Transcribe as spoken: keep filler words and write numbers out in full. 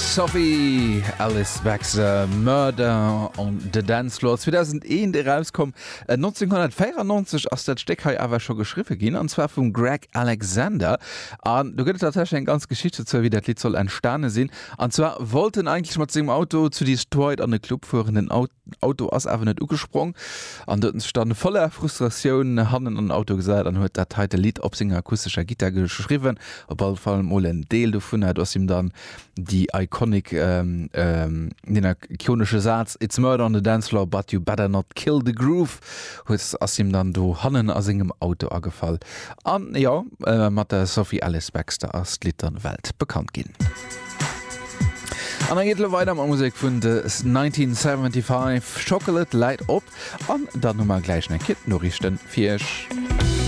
Sophie Ellis-Bextor, Murder on the Dance Floor, zweedausendeent erauskomm. nonzénghonnertvéierennonzeg ass dat Stéck hei awer scho geschriwwe ginn, an zwar vum Gregg Alexander. An do gëtt et tatsächlech eng ganz Geschicht dozou, wéi dat Lidd soll entstane sinn. An zwar wollt en eigentlech mat sengem Auto zu Detroit an e Club fueren. Den Auto ass awer net ugesprong an do huet en sech dann voller Frustratioun hannen an den Auto gesat an huet dat heite Lidd op senger akustescher Gittar geschriwwen. Op alle Fall mol en Deel dovunner. Do ass him dann déi iconic, deen ikonesche Saz It's murder on the dance floor, but you better not kill the groove huet ass him dann do hannen a sengem Auto agefall. An jo, mat der Sophie Ellis-Bextor ass d'Lidd dann weltbekannt ginn. An da geet elo weider mat Musek vun The nineteen seventy-five. Chocolate läit op an dann hu mer gläich nach eng Kéier d'Noriichten fir iech.